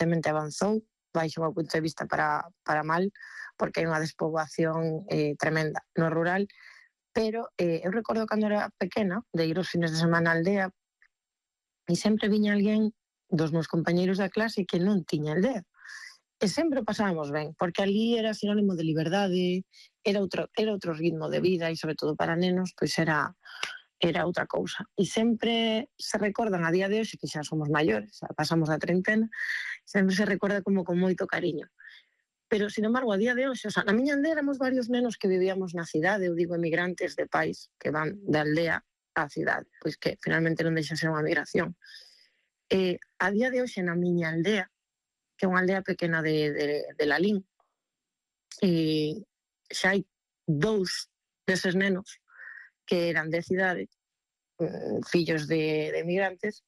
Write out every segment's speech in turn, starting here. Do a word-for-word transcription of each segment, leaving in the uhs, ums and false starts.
evidentemente avanzou, baixo o meu punto de vista para, para mal, porque hai unha despoboación eh, tremenda no rural, pero eh, eu recordo cando era pequena, de ir os fines de semana á aldea, e sempre viña alguén dos meus compañeiros da clase que non tiña aldea. E sempre pasábamos ben, porque ali era sinónimo de liberdade, era outro, era outro ritmo de vida e, sobre todo para nenos, pois era, era outra cousa. E sempre se recordan a día de hoxe, que xa somos maiores, xa pasamos da treintena, sempre se recorda como con moito cariño. Pero, sin embargo, a día de hoxe, o sea, na miña aldea éramos varios nenos que vivíamos na cidade, eu digo emigrantes de pais que van da aldea á cidade, pois que finalmente non deixa ser unha migración. E a día de hoxe na miña aldea, que é unha aldea pequena de, de, de Lalín, e xa hai dous deses nenos que eran de cidade, fillos de, de emigrantes,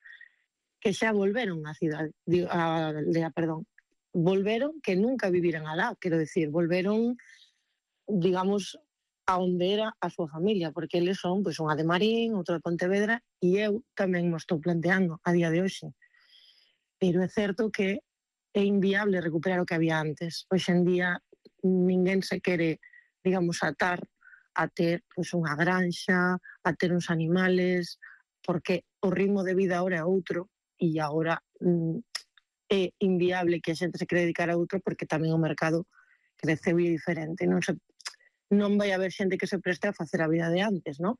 que xa volveron á cidade, a aldea, perdón, volveron que nunca viviran alá, quero decir, volveron, digamos, a onde era a súa familia, porque eles son, pois, unha de Marín, outra de Pontevedra, e eu tamén mo estou planteando a día de hoxe. Pero é certo que é inviable recuperar o que había antes. Hoxe en día ninguén se quere, digamos, atar a ter pois, unha granxa, a ter uns animales, porque o ritmo de vida agora é outro e agora mm, é inviable que a xente se quere dedicar a outro porque tamén o mercado creceu e é diferente. Non, se, non vai haber xente que se preste a facer a vida de antes, non?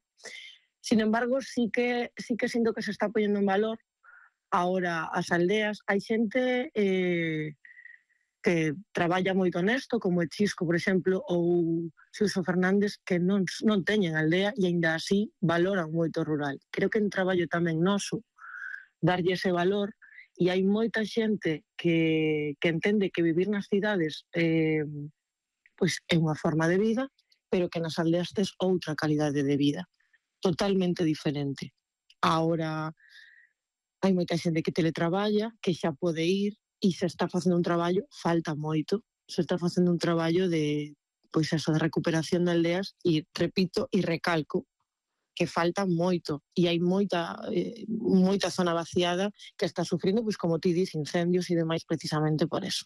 Sin embargo, sí que, sí que sinto que se está poñendo en valor agora as aldeas. Hai xente eh, que traballa moito nesto, como o Chisco, por exemplo, ou Xuso Fernández, que non, non teñen aldea e aínda así valoran moito o rural. Creo que en traballo tamén noso darlle ese valor, e hai moita xente que, que entende que vivir nas cidades eh, pois é unha forma de vida, pero que nas aldeas tes outra calidade de vida, totalmente diferente. Agora, hai moita xente que teletraballa, que xa pode ir, e se está facendo un traballo, falta moito, se está facendo un traballo de, pois eso, de recuperación de aldeas, e repito e recalco, que falta moito, e hai moita, eh, moita zona vaciada que está sufrindo, pois como ti dis, incendios e demais precisamente por eso.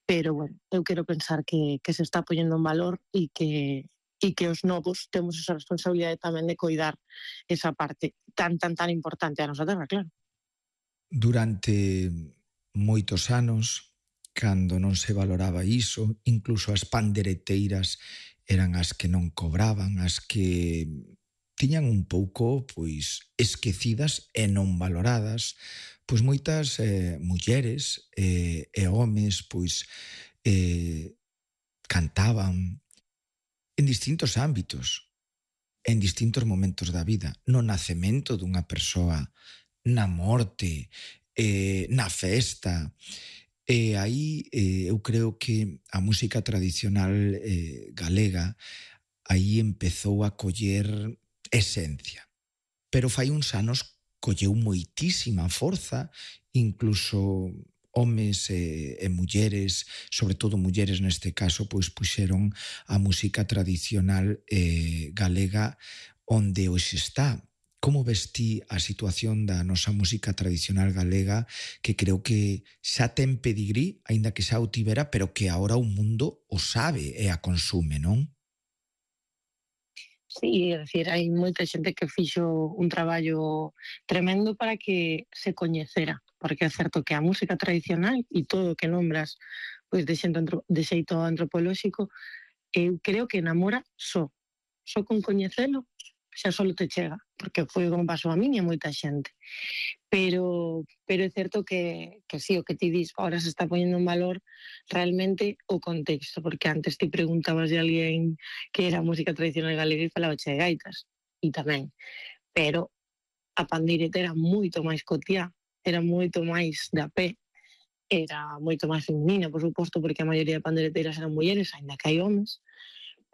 Pero, bueno, eu quero pensar que, que se está poñendo en valor e que, e que os novos temos esa responsabilidade tamén de coidar esa parte tan, tan, tan importante a nosa terra, claro. Durante moitos anos, cando non se valoraba iso, incluso as pandereteiras eran as que non cobraban, as que tiñan un pouco, pois, esquecidas e non valoradas, pois moitas eh, mulleres eh, e homes, pois, eh, cantaban en distintos ámbitos, en distintos momentos da vida, no nacemento dunha persoa, na morte, eh, na festa. E aí eh, eu creo que a música tradicional eh, galega aí empezou a coller esencia. Pero fai uns anos colleu moitísima forza, incluso homes e, e mulleres, sobre todo mulleres neste caso, pois puxeron a música tradicional eh, galega onde hoxe está. Como ves ti a situación da nosa música tradicional galega, que creo que xa ten pedigrí, aínda que xa o tivera, pero que agora o mundo o sabe e a consume, non? Sí, é dicir, hai moita xente que fixo un traballo tremendo para que se coñecera, porque é certo que a música tradicional e todo o que nombras pois de xeito, de xeito antropolóxico, eu creo que enamora só. Só con coñecelo xa só te chega, porque foi como pasou a min e a moita xente. Pero, pero é certo que, que sí, o que ti dis, ahora se está poñendo en valor realmente o contexto, porque antes te preguntabas de alguén que era música tradicional galega e falaba che de gaitas, e tamén. Pero a pandeireta era moito máis cotiá, era moito máis de a pé, era moito máis feminina, por suposto, porque a maioría de pandeireteiras eran mulleres, ainda que hai homes,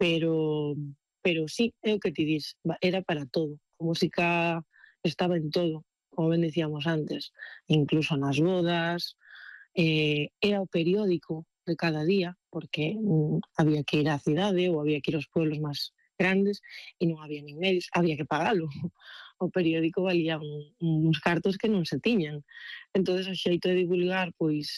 pero, pero sí, é o que ti dis, era para todo. A música estaba en todo, como ben decíamos antes, incluso nas bodas, eh, era o periódico de cada día, porque mm, había que ir á cidade ou había que ir aos pueblos máis grandes e non había nin medios, había que pagalo. o periódico valía un, uns cartos que non se tiñan. Entonces o xeito de divulgar, pois,